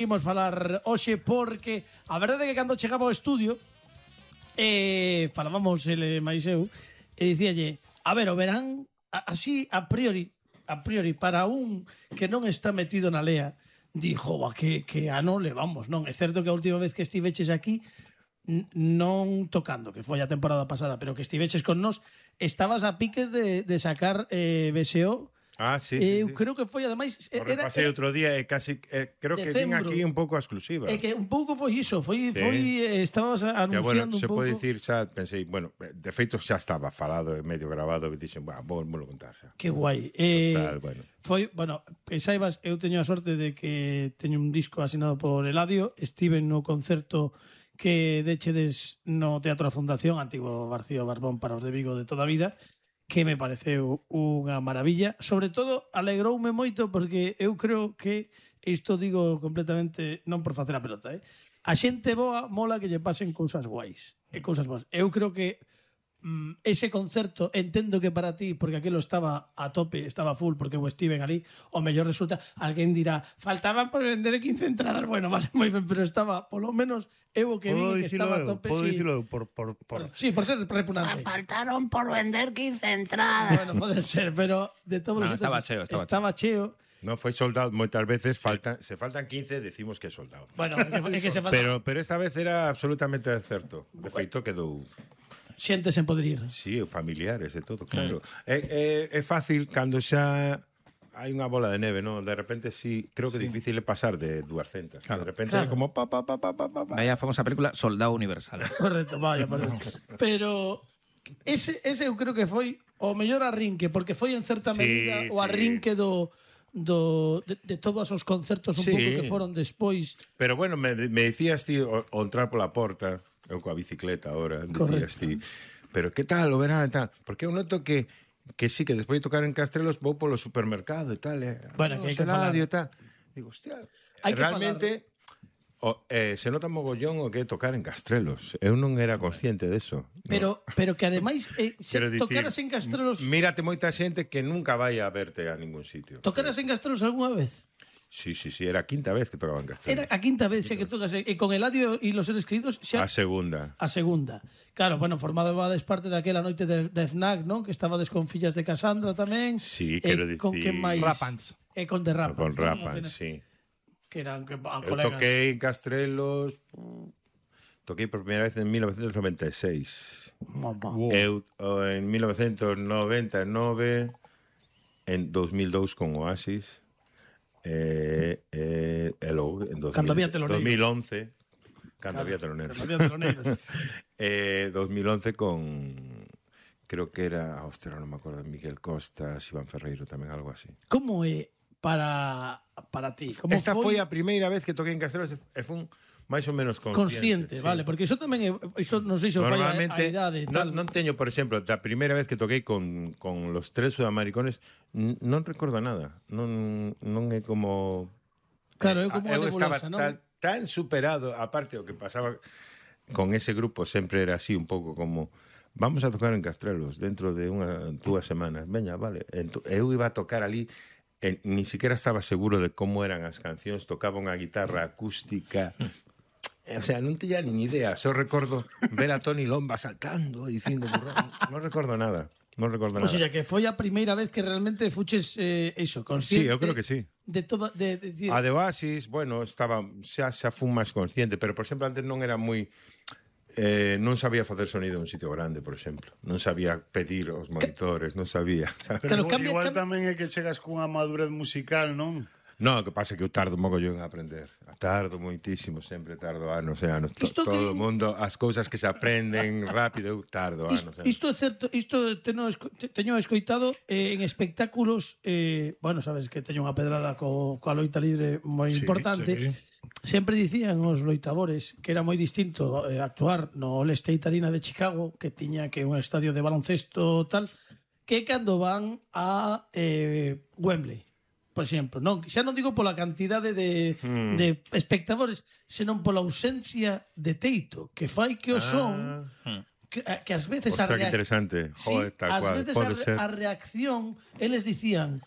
Imos falar hoxe porque a verdade é que cando chegaba ao estudio falábamos ele máis eu e dicíalle, a ver, o verán así a priori para un que non está metido na lea, dixo, que ano levamos, non? É certo que a última vez que estiveches aquí non tocando, que foi a temporada pasada, pero que estiveches con nós, estabas a piques de sacar BSO. Sí. Creo que foi, ademais... Pasei outro día e casi... creo que ten aquí un pouco a exclusiva. É que un pouco foi iso, estabas anunciando un pouco... Se pode dicir xa, pensei, bueno, de feito xa estaba falado e medio grabado e dixen, vou contar xa. Que guai. Total, bueno. Foi, bueno, que saibas, eu teño a sorte de que teño un disco asinado por Eladio, estive no concerto que dechedes no Teatro da Fundación, antigo Barcío Barbón para os de Vigo de toda a vida, que me pareceu unha maravilla. Sobre todo, alegroume moito porque eu creo que, isto digo completamente, non por facer a pelota, a xente boa mola que lle pasen cousas guais e cousas boas. Eu creo que ese concerto, entendo que para ti, porque aquilo estaba a tope, estaba full, porque eu estiven ali, o mellor resulta, alguén dirá, faltaban por vender 15 entradas, bueno, vale, moi ben, pero estaba, polo menos, eu o que vi que estaba a tope. Podo dicilo Sí, por ser repugnante. Faltaron por vender 15 entradas. Bueno, pode ser, pero de todos os estaba cheo. Non foi soldado, moitas veces se faltan 15, decimos que é soldado. Bueno, é que se falta. Pero esta vez era absolutamente certo. De feito quedou xente sen poder ir. Sí, familiares e todo, claro. É fácil cando xa hai unha bola de neve, non? De repente creo que é difícil pasar de 200. Claro. De repente é como pa. Vaya famosa película Soldado Universal. Correcto, vaya. Pero ese eu creo que foi o mellor arrinque, porque foi en certa medida o arrinque de todos os concertos un pouco que foron despois. Pero bueno, me dicías ti o entrar pola porta, eu coa bicicleta ahora, dicías ti, pero que tal o verán e tal? Porque eu noto que sí, que despois de tocar en Castrelos vou polo supermercado e tal, bueno, que hai que falar. E tal. Digo, hostia, realmente se nota mogollón o que é tocar en Castrelos. Eu non era consciente deso. Pero que ademais tocaras en Castrelos... Mírate moita xente que nunca vai a verte a ningún sitio. Tocaras en Castrelos algunha vez? Sí, era a quinta vez que tocaba en Castrelos. Era a quinta vez xa que tocas. E con Eladio e los seres queridos xa... A segunda. Claro, bueno, formabades parte daquela noite de FNAC, non? Que estabades con Fillas de Casandra tamén. Sí, quero dicir... Con que máis? Rapans. E con The Rapans. Con Rapans, sí. Que eran colegas. Eu toquei en Castrelos... Toquei por primeira vez en 1996. Eu en 1999, en 2002 con Oasis, e logo en 2011, cando había teloneiros. 2011 con... creo que era... non me acordo, Miguel Costas, Iván Ferreiro tamén, algo así. Como é para ti? Esta foi a primeira vez que toquei en Castrelos e fun máis ou menos consciente, sí. Vale, porque iso tamén iso non sei se fai a idade tal. Non teño, por exemplo, da primeira vez que toquei con los tres sudamericanos, non recordo nada. Non é como... Claro, é como eu nebulosa, estaba non? tan superado, aparte o que pasaba con ese grupo sempre era así un pouco como vamos a tocar en Castrelos dentro de 2 semanas. Veña, vale. Eu iba a tocar ali, ni siquiera estaba seguro de como eran as cancións, tocaba unha guitarra acústica. O sea, non tiña nin idea. Só recordo ver a Toni Lomba saltando e dicindo non recordo nada. O sea, que foi a primeira vez que realmente fuches iso, consciente. Sí, eu creo que sí. De todo, a de Oasis, bueno, estaba xa fun máis consciente, pero por exemplo antes non era moi non sabía facer sonido en un sitio grande, por exemplo. Non sabía pedir os monitores, non sabía. Pero igual tamén é que chegas cunha madurez musical, non? Non, o que pasa é que eu tardo mogollón a aprender. Tardo moitísimo, sempre tardo anos e anos. Todo o mundo, as cousas que se aprenden rápido, eu tardo anos. Isto é certo, isto teño escoitado en espectáculos, bueno, sabes que teño unha pedrada coa loita libre moi importante. Sempre dicían os loitadores que era moi distinto actuar no All State Arena de Chicago, que tiña que un estadio de baloncesto tal, que cando van a Wembley. Por exemplo, non, xa non digo pola cantidade de espectadores, senón pola ausencia de teito, que fai que o son que ás veces a reacción eles dicían,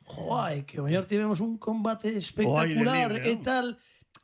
joai, que o mellor tivemos un combate espectacular e tal,